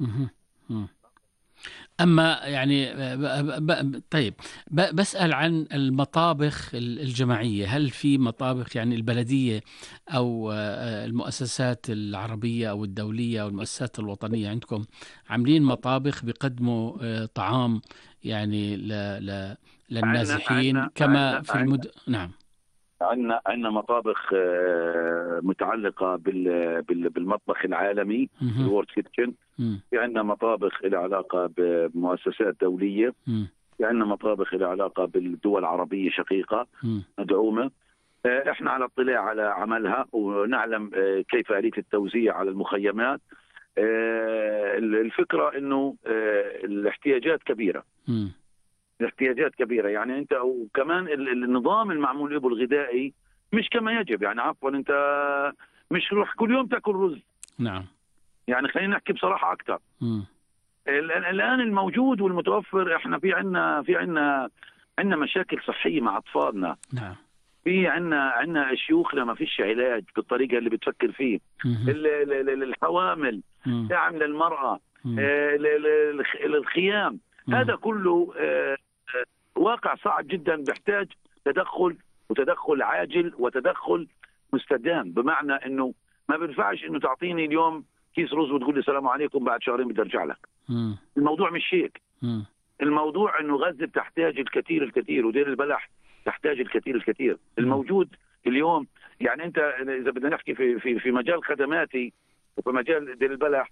مهم. مم. أما يعني طيب بسأل عن المطابخ الجماعية. هل في مطابخ يعني البلدية أو المؤسسات العربية أو الدولية أو المؤسسات الوطنية عندكم عاملين مطابخ بيقدموا طعام يعني للنازحين كما في نعم. عندنا مطابخ متعلقة بالمطبخ العالمي الورد كيتشن. في عندنا مطابخ لها علاقة بمؤسسات دولية. في عندنا مطابخ لها علاقة بالدول العربية شقيقة مدعومة. احنا على اطلاع على عملها ونعلم كيف آلية التوزيع على المخيمات. الفكرة انه الاحتياجات كبيرة. الاحتياجات كبيرة يعني انت، وكمان النظام المعمول به الغذائي مش كما يجب. يعني عفوا انت مش روح كل يوم تاكل رز. نعم. يعني خلينا نحكي بصراحة اكثر. الان الموجود والمتوفر، احنا في عندنا مشاكل صحية مع اطفالنا. نعم. في عندنا شيوخنا ما فيش علاج بالطريقة اللي بتفكر فيه. الحوامل، دعم للمرأة، الخيام، هذا كله واقع صعب جدا بيحتاج تدخل، وتدخل عاجل وتدخل مستدام. بمعنى انه ما بينفعش انه تعطيني اليوم كيس رز وتقول لي السلام عليكم بعد شهرين بدي ارجع لك. الموضوع مش هيك. الموضوع انه غزة تحتاج الكثير ودير البلح تحتاج الكثير. الموجود اليوم يعني انت اذا بدنا نحكي في مجال خدماتي وفي مجال دير البلح،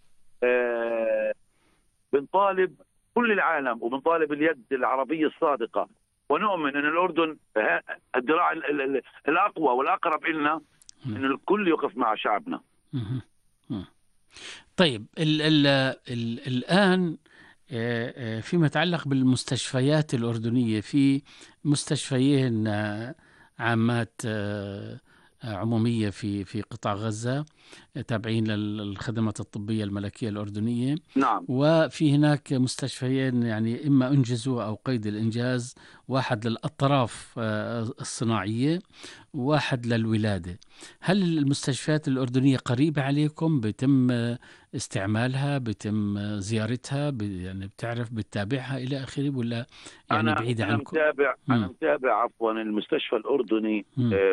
بنطالب كل العالم وبنطالب اليد العربية الصادقة، ونؤمن أن الأردن الذراع الأقوى والأقرب إلنا، أن الكل يقف مع شعبنا. طيب الآن فيما يتعلق بالمستشفيات الأردنية، في مستشفيين عامات عمومية في قطاع غزة تابعين للخدمات الطبية الملكية الأردنية. نعم. وفي هناك مستشفيين يعني إما أنجزوا أو قيد الإنجاز، واحد للأطراف الصناعية وواحد للولادة. هل المستشفيات الأردنية قريبة عليكم؟ بيتم استعمالها، بيتم زيارتها، يعني بتعرف بتتابعها إلى آخره، ولا يعني بعيدة عنكم؟ أنا متابع عفوا المستشفى الأردني.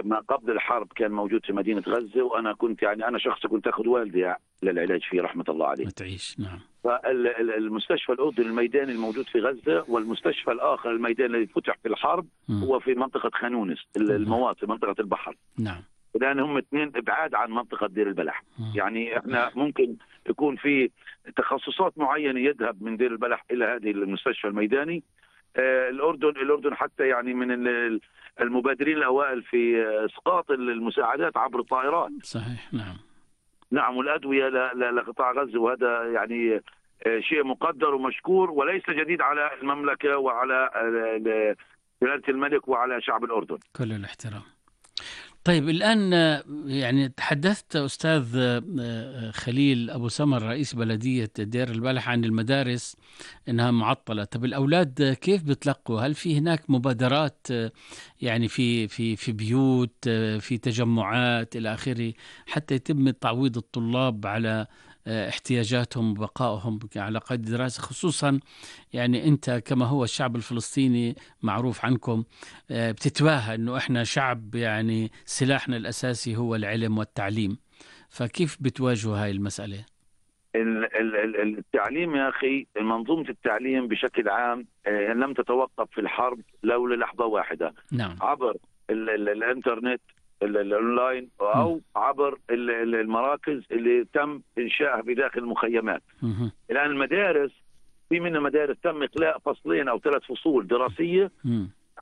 ما قبل الحرب كان موجود في مدينة غزة، وأنا كنت يعني أنا شخص كنت أخذ والدي للعلاج فيه رحمة الله عليه. تعيش. نعم. فالمستشفى الأردني الميداني الموجود في غزة، والمستشفى الآخر الميداني الذي فتح في الحرب هو في منطقة خانونس المواطن، منطقة البحر. نعم. لأن هم اثنين ابعاد عن منطقة دير البلح. يعني احنا ممكن يكون في تخصصات معينة يذهب من دير البلح إلى هذه المستشفى الميداني. الأردن حتى يعني من المبادرين الأوائل في إسقاط المساعدات عبر الطائرات. صحيح. نعم. نعم. والأدوية لقطاع غزة، وهذا يعني شيء مقدر ومشكور وليس جديد على المملكة وعلى جلالة الملك وعلى شعب الأردن. كل الاحترام. طيب الآن يعني تحدثت أستاذ خليل أبو سمر رئيس بلدية دير البلح عن المدارس إنها معطلة. طب الأولاد كيف بتلقوا؟ هل في هناك مبادرات يعني في بيوت، في تجمعات إلى آخره، حتى يتم تعويض الطلاب على احتياجاتهم وبقائهم على قيد الدراسة، خصوصا يعني أنت كما هو الشعب الفلسطيني معروف عنكم بتتباهى أنه إحنا شعب يعني سلاحنا الأساسي هو العلم والتعليم. فكيف بتواجهوا هاي المسألة؟ التعليم يا أخي، منظومة التعليم بشكل عام لم تتوقف في الحرب لو للحظة واحدة. نعم. عبر الانترنت الاونلاين او عبر المراكز اللي تم انشائها في داخل المخيمات. الان المدارس، في منها مدارس تم اقلاع فصلين او 3 فصول دراسيه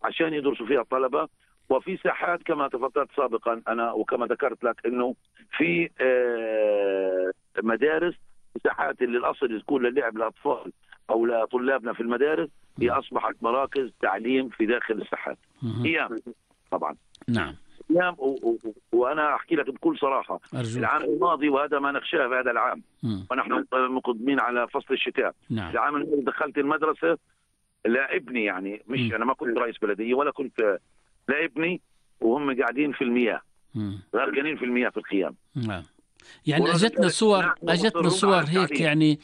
عشان يدرسوا فيها الطلبه، وفي ساحات كما تفضلت سابقا انا وكما ذكرت لك انه في مدارس ساحات اللي الاصل تكون للعب الاطفال او لطلابنا في المدارس هي اصبحت مراكز تعليم في داخل الساحات. هي طبعا. نعم. وانا احكي لك بكل صراحه، أرجوك. العام الماضي وهذا ما نخشاه في هذا العام، ونحن مقدمين على فصل الشتاء. نعم. العام الماضي دخلت المدرسه لابني، يعني مش انا ما كنت رئيس بلديه ولا كنت لابني، وهم قاعدين في المياه غرقانين في المياه في الخيام. نعم. يعني اجتنا صور هيك يعني